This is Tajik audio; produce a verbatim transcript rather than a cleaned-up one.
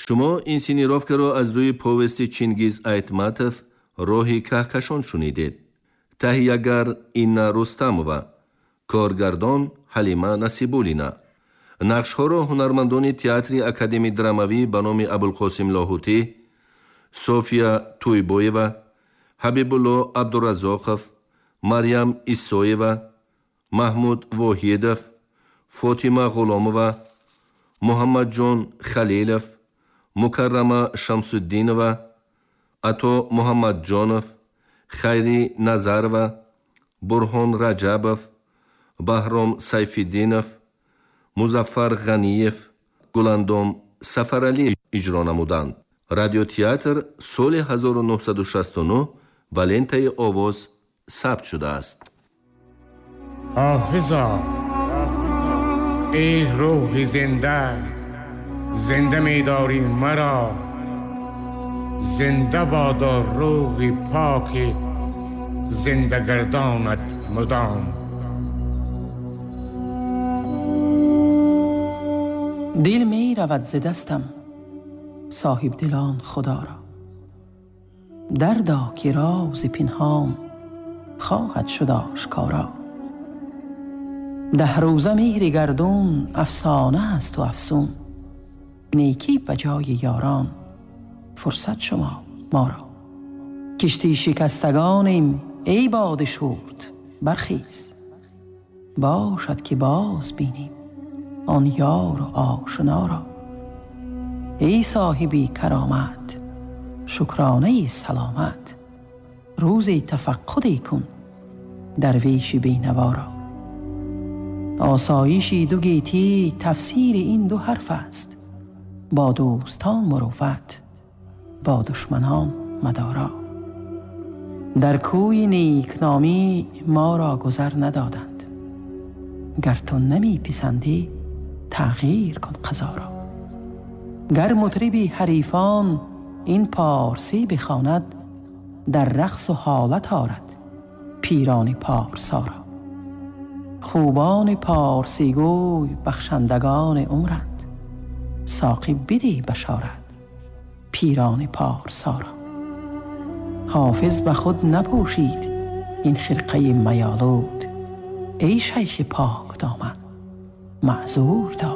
Шумо инсценировкаро аз рӯи повести Чингиз Айтматов «Роҳи каҳкашон» шунидед. Таҳиягар Инна Рустамова, коргардон Ҳалима Насибуллина. Нақшҳоро ҳунармандони театри академии драмавӣ ба номи Абулқосим Лоҳутӣ, София Тӯйбоева, Ҳабибулло Абдураззоқов, Марьям Исоева, Маҳмуд Воҳидов, Фотима Ғуломова, Муҳаммадҷон Халилов, Мукаррама Шамсуддинова, Ато Муҳаммадҷонов, Хайри Назарова, Бурҳон Раҷабов, Баҳром Сайфиддинов, Музаффар Ғаниев, Гуландом Сафаралӣ иҷро намуданд. Радиотеатр соли ҳазору нуҳсаду шасту нӯҳ ба лентаи овоз сабт шудааст. Ҳофизо, эй рӯҳи зинда, зинда медорӣ маро, зинда бодо рӯҳи поки зиндагардонат мудом. Дил меравад зи дастам соҳибдилон Худоро, дардо ки рози пинҳон хоҳад шуд ошкоро. Даҳ рӯза меҳри гардун афсона аст у афсун, некӣ ба ҷои ёрон фурсат шумо моро. Кишти шикастагонем эй боди шурт бархез, бошад ки боз бинем он ёру ошноро. Эй соҳиби каромат шукронаи саломат, рӯзи тафаққуде кун дарвеши бенаворо. Осоиши ду гетӣ тафсири ин ду ҳарф аст, бо дӯстон мурувват, бо душманон мадоро. Дар кӯи некномӣ моро гузар надоданд, гар ту намеписандӣ тағйир кун қазоро. Гар мутриби ҳарифон ин порсӣ бихонад, дар рақсу ҳолат орад пирони порсоро. Хубони порсигӯй бахшандагони умранд, соқӣ бидеҳ башорат пирони порсоро. Ҳофиз ба худ напӯшид ин хирқаи майолуд, эй шайхи покдоман маъзур дор.